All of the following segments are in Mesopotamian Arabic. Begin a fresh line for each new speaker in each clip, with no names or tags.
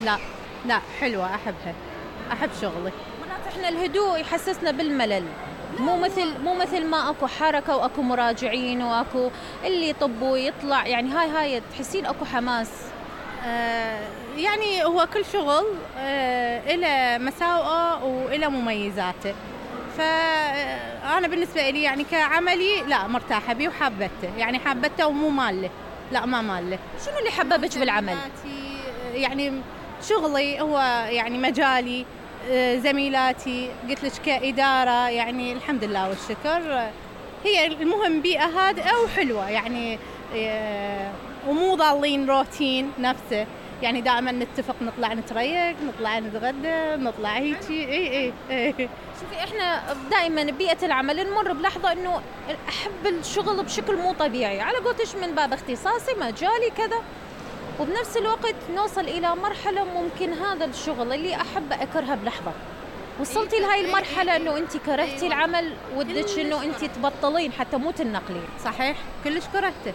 لا لا حلوة أحبها، أحب شغلي.
مرات احنا الهدوء يحسسنا بالملل، مو مثل ما اكو حركة واكو مراجعين واكو اللي يطب ويطلع، يعني هاي تحسين اكو حماس.
يعني هو كل شغل إله مساوئه وإله مميزاته، فأنا بالنسبة لي يعني كعملي لا مرتاحة بيه وحابته، يعني حابته ومو ماله، لا ما ماله.
شنو اللي حببك بالعمل؟
يعني شغلي هو يعني مجالي، زميلاتي، قلت لك كإدارة يعني الحمد لله والشكر. هي المهم بيئة هادئة وحلوة يعني، ومو ضالين روتين نفسه، يعني دائما نتفق نطلع نتريق، نطلع نتغدى، نطلع هيجي. اي
شوفي احنا دائما ببيئة العمل نمر بلحظة انه احب الشغل بشكل مو طبيعي، على قولتش من باب اختصاصي مجالي كذا، وبنفس الوقت نوصل الى مرحلة ممكن هذا الشغل اللي احب اكرهه بلحظة. وصلتي لهاي المرحلة انه انت كرهتي العمل ودك انه انت تبطلين حتى مو تنقلين؟
صحيح كلش كرهته،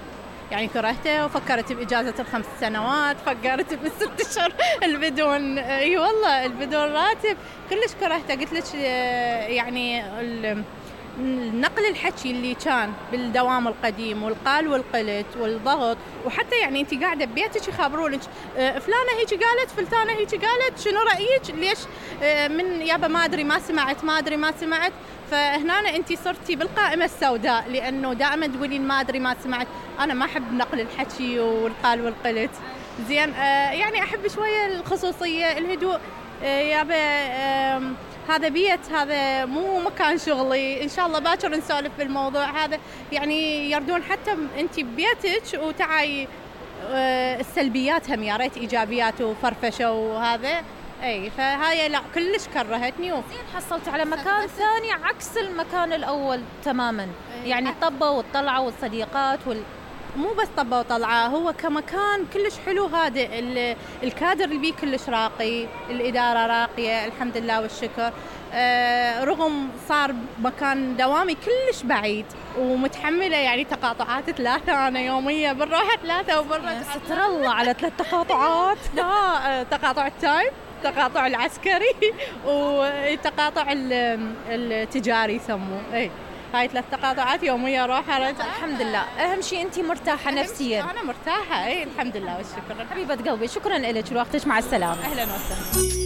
يعني كرهته وفكرت بإجازة ال5 سنوات، فكرت بال6 أشهر البدون، اي والله البدون راتب، كلش كرهته. قلت لك يعني نقل الحكي اللي كان بالدوام القديم والقال والقلت والضغط، وحتى يعني انت قاعده ببيتك يخبرونك فلانه هيك قالت، فلانه هيك قالت، شنو رايك، ليش من يابا ما ادري ما سمعت. فهنا انت صرتي بالقائمه السوداء، لانه دائما تقولين ما ادري ما سمعت. انا ما احب نقل الحكي والقال والقلت، زين يعني احب شويه الخصوصيه، الهدوء. يابا هذا بيت، هذا مو مكان شغلي، إن شاء الله باكر نسولف بالموضوع هذا، يعني يردون حتى أنت ببيتك وتعاي السلبيات هم يا ريت إيجابيات وفرفشة وهذا. أي فهاي لا كلش كرهتني.
زين حصلت على مكان ثاني عكس المكان الأول تماماً، يعني الطبة والطلعة والصديقات
مو بس طبة وطلعة، هو كمكان كلش حلو هادئ، الكادر اللي بيه كلش راقي، الإدارة راقية الحمد لله والشكر. رغم صار مكان دوامي كلش بعيد ومتحملة يعني تقاطعات 3 أنا يومية، بالروحة 3 وبالروحة
ستر الله على 3 تقاطعات.
لا تقاطع التايم، تقاطع العسكري، وتقاطع التجاري يسموه. اي هاي 3 تقاطعات يومية روحة.
الحمد لله، أهم شيء أنتي مرتاحة نفسياً.
أنا مرتاحة، أي الحمد لله والشكر.
حبيبة قلبي شكراً لك لوقتك، مع السلامة.
أهلاً وسهلاً.